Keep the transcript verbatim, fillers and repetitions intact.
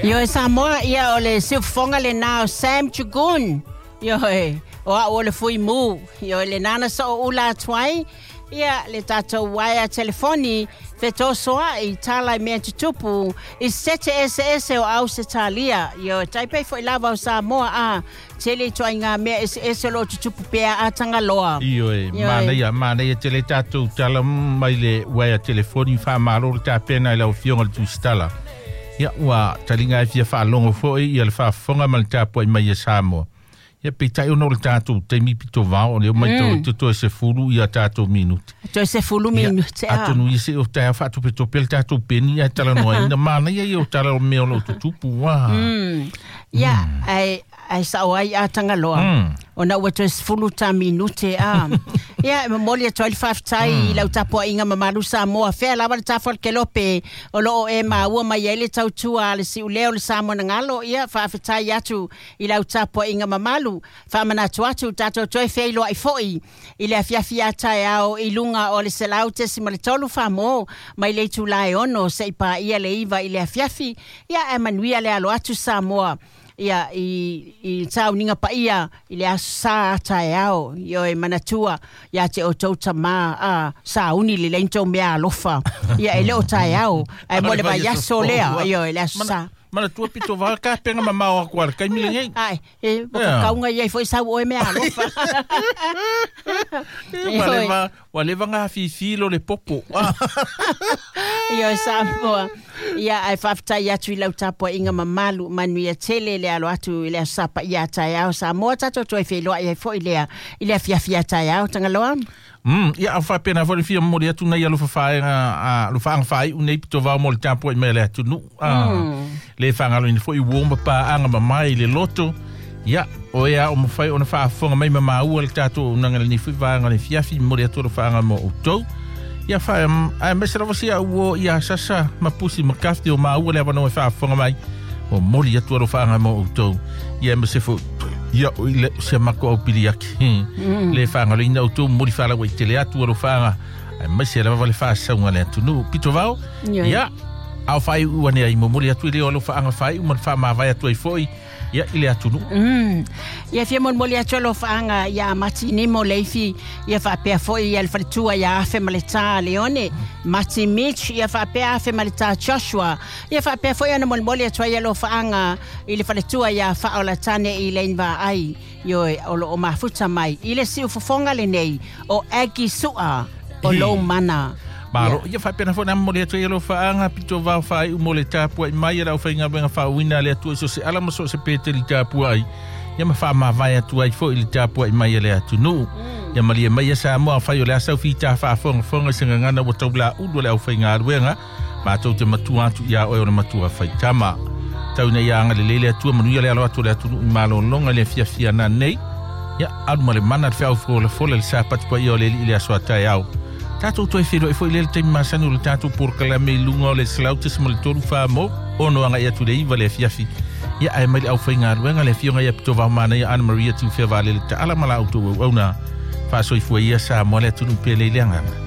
Ioe Samoa, ia o le siufofoga lenā o Sam Jagoon. Ioe, o a'u o le fuimū. Ioe, lenā na so'oula atu ai ia le tatou uaea telefoni fetosoa'i tala i mea tutupu i sete eseese o Ausetalia. Ioe, taipei fo'i lava o Samoa a tele ituaiga mea eseese o loo tutupu pea a Tagaloa. Ioe, manaia, manaia tele tatou tala mai le uaea telefoni faamalo le tapena i lau Afioga le Tusitala. Ia ua taliga e fia faalogo fo'i ia le faafofoga ma le tapua'i mai e Samoa. Ia peitai ona o le tatou taimi pito vao o lea ua matau atu toe sefulu ia tatou minute. Toe sefulu minute a. Atonu ia se'o taeao faatopetope le tatou peni ae talanoaina manaia ia o tala o mea o loo tutupu ua. Mm. Ia, ae ae sa'o ai a Tagaloa. Mm. Ona ua toe sefulu ta minute a. Ia, e momoli atu ai le faafetai i lau tapua'iga mamalu Samoa fea lava le tafa o le kelope o loo e maua mai ai le tautua a le si'ulea o le Samoa na galo. Ia faafetai atu i lau tapua'iga mamalu faamanatu atu tatou toe feiloa'i fo'i i le afiafi a taeao i luga o le selau tesima le tolu famo mai le itulā e ono se'i paia le iva i le afiafi. Ia ae manuia le alo atu Samoa ia i i sauniga paia i le aso sā a taeao. Ioe, manatua iā te outou tamā a sauni lelei na tou mea alofa. Ia e le o taeao ae mo le vaiaso lea. Ioe, le aso sā. Manatua pito vao kapega mamao aku a le taimi lenei. Ae, e ua kakauga i ai foi sau oe mea alofa. Ua leva, ua leva gafifi lo le popo. Ioe Samoa. Ia ae faafetai atu i lau tapua'iga mamalu manuia tele le alo atu i le aso sa paia a taeao Samoa tatou toe feiloa'i ai fo'i lea i le afiafi a taeao Tagaloa. Mm, ia au faapena foi le fia momoli atu nei alofa faaega a alofaaga faai'u nei pito vao mo le tapua'i mai a le atunu'u. Ah, le faagaloina foi uo ma paaga mamae i le loto. Ia, o ea o mafai ona faafofoga mai ma maua le tatou auaunaga lenei foi vaega o le afiafi momoli atu alofaaga mo outou. Ia fa ae aemaise lava sia uo ia sasa ma pusi ma kafti o maua le avanoa e faafofoga mai. Momoli atu alofaaga mo outou. Ia aemaise foi ia o ile se mako au pili ake. Le faagaloina outou momoli faalauaitele atu alofaaga aemaise lava le faasauga a le atunuu. Pito vao, ia ao faai'u ane ai momoli atu i le o alofaaga faai'u ma le faamavae atu ai fo'i ia i le atunuu. Mm. Ia fia molimoli atu alofaaga ia Mati Nimo Leifi, ia faapea fo'i ia le faletua ia Afe ma le Tā Leone, Mati Mitch, ia faapea Afe ma le Tā Joshua, ia faapea fo'i ona molimoli atu ai alofaaga i le faletua ia Faaolatane i Lane Vaai, ioe o loo mafuta mai i le siufofoga lenei o Aggie Su'a o lou mana. Malo, ia faapena foi na momoli atu ai alofaaga pito vao faai'u mo le tapua'i mai a le aufaigaluega faauuina a le Atua i so o se ala ma so o se peteli tapua'i ia ma faamavae atu ai fo'i le tapua'i mai a le atunuu. Ia malie mai ia Samoa afai o le asa ufitā faafogafoga i se gagana ua taulaulu a le aufaigaluega matou te matua atu iā oe o le matua faitama. Tau ina ia agalelei le Atua manuia le alo atu o le atunuu i malologa i le afiafi ana nei. Ia alu ma le mana le feau folafola le sapati paia o le Alii i le aso a taeao. Tatou toe feiloai foi lea le taimi masani o le tatou polokalame i luga o le selau tesima le tolu fa mo ono aga'i atu i le iva le afiafi. Ia ae mai le aufaigaluega le afioga ia pito vao manaia Ana Maria Tiufea Vaalele Taala ma la outou auauna. Faasoifua ia Samoa le atunuu pele i le agaga.